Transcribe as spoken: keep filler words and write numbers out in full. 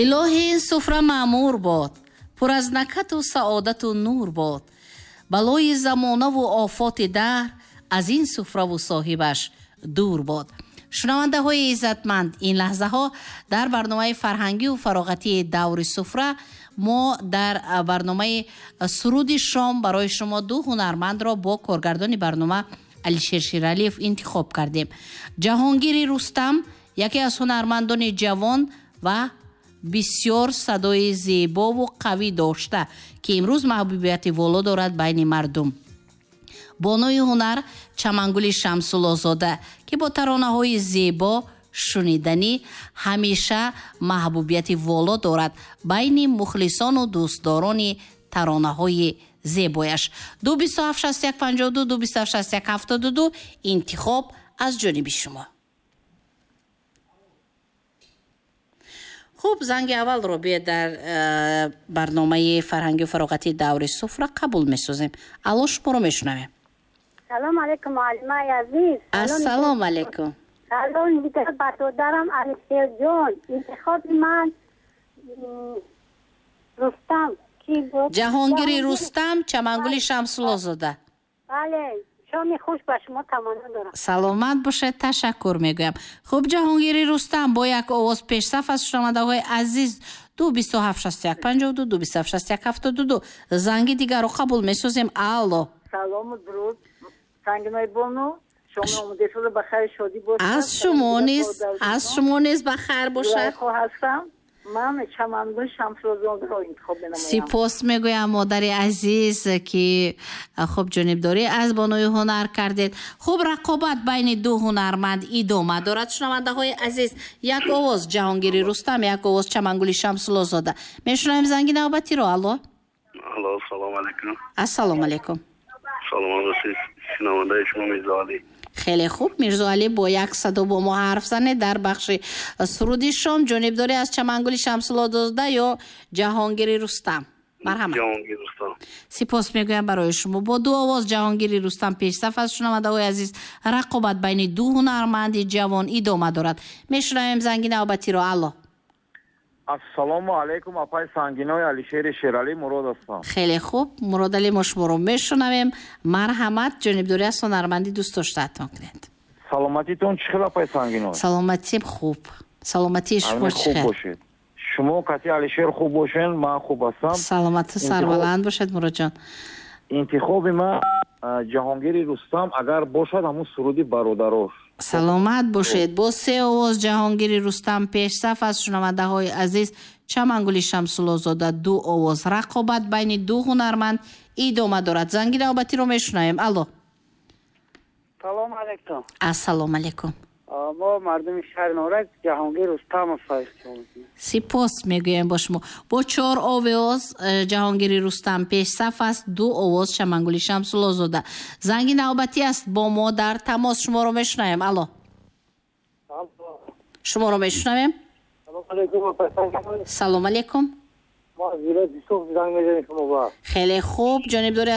Илоҳи ин суфра маъмур бод, пур аз накату саодату нур бод. Балои замонаву офоти даҳр аз ин суфраву соҳибаш дур бод. Шунавандаҳои иззатманд, ин лаҳзаҳо дар барномаи фарҳангию фароғатии даври суфра мо дар барномаи суруди шом барои шумо ду ҳунармандро бо коргардони барнома Алишер Шералиев интихоб кардем. Ҷаҳонгири Рустам яке аз ҳунармандони ҷавон ва бисёр садои зебову қавӣ дошта, ки имрӯз маҳбубияти воло дорад байни мардум. Бонуи ҳунар Чамангули Шамсуллозода, ки бо таронаҳои зебо шуниданӣ ҳамеша маҳбубияти воло дорад байни мухлисону дӯстдорони таронаҳои зебояш. Ду бисту ҳафт шасту як панҷоҳу ду, ду бисту ҳафт шасту як ҳафтоду ду, интихоб аз ҷониби шумо. Хуб, занги аввалро биёед дар э, барномаи фарҳангию фароғатии даври суфра қабул месозем. Алло, шуморо мешунавем. Салом алейкум, муаллимаи азиз. Ассалому алейкум. Салом дигар бародарам Алишерҷон. Интихоби ман Рустам. Ки буд? Ҷаҳонгири Рустам, Чамангули Шамсуллозода. Бале, шоми хуш ба шумо таманно дорам. Саломат бошед, ташаккур мегӯям. Хуб, Ҷаҳонгири Рустам бо як овоз пешсаф аз шунавандаҳои азиз. Ду бисту ҳафт шасту як панҷоҳу ду, ду бисту ҳафт шасту як ҳафтоду ду. Занги дигарро қабул месозем. Алло. Салому дуруд, Сангинои бону. Шоми омода шуда ба хайр шодӣ бошад. Аз шумо низ, аз шумо низ ба хайр бошад. Ҳастам. Ман Чамангул Шамсуллозодаро интихоб менамоям. Сипос мегӯям, модари азиз, ки хуб ҷонибдорӣ аз бонуи ҳунар кардед. Хуб, рақобат байни ду ҳунарманд идома дорад. Шунавандаҳои азиз, як овоз Ҷаҳонгири Рустам, як овоз Чамангули Шамсуллозода. Мешунавем занги навбатиро. Алло. Алло, салому алейкум. Ассалому алейкум. Саломат бошед, шунавандаи шумо Мирзоалӣ. Хеле хуб, Мирзоалӣ, бо як садо бо мо ҳарф занед дар бахши суруди шом. Ҷонибдорӣ аз Чамангули Шамсуллозода ё Ҷаҳонгири Рустам? Марҳамат. Ҷаҳонгир Рустам. Сипос мегӯям барои шумо. Бо ду овоз Ҷаҳонгири Рустам пешсаф аст. Шунавандаҳои азиз, рақобат байни ду ҳунарманди ҷавон идома дорад. Мешунавем занги навбатиро. Алло. Ассалому алайкум, апай Сангинои Алишери Шералӣ, Мурод ҳастам. Хеле хуб, Муродалӣ, мо шуморо мешунавем. Марҳамат, ҷонибдорӣ аз ҳунарманди дӯстдоштаатон кунед. Саломатитон чӣ хел, апай Сангиной? Саломатим хуб. Саломатии шумо чӣ хуб хел? Бошед. Шумо кати Алишер хуб бошен, ман хуб ҳастам. Саломату сарбаланд бошед, Муродҷон. Интихоби ман Ҷаҳонгири Рустам, агар бошад ҳамун суруди бародарош. Саломат бошед. Бо се овоз Ҷаҳонгири Рустам пешсаф аз шунавандаҳои азиз. Чамангули Шамсуллозода ду овоз. Рақобат байни ду ҳунарманд идома дорад. Занги навбатиро мешунавем. Алло. Салом алейкум. Ассалому алейкум. Мо мардуми шаҳри Норак Ҷаҳонгир Рустамов ҳастем. Сипос мегӯем бо шумо. Бо чор овоз Ҷаҳонгири Рустам пешсаф аст, ду овоз Чамангули Шамсуллозода. Занги навбатӣ аст бо мо дар тамос. Шуморо мешунавем. Алло. Шуморо мешунавем. Салом алейкум. Мо аз вилояти Суғд занг мезанем шумо ба. Хеле хуб, ҷонибдорӣ аз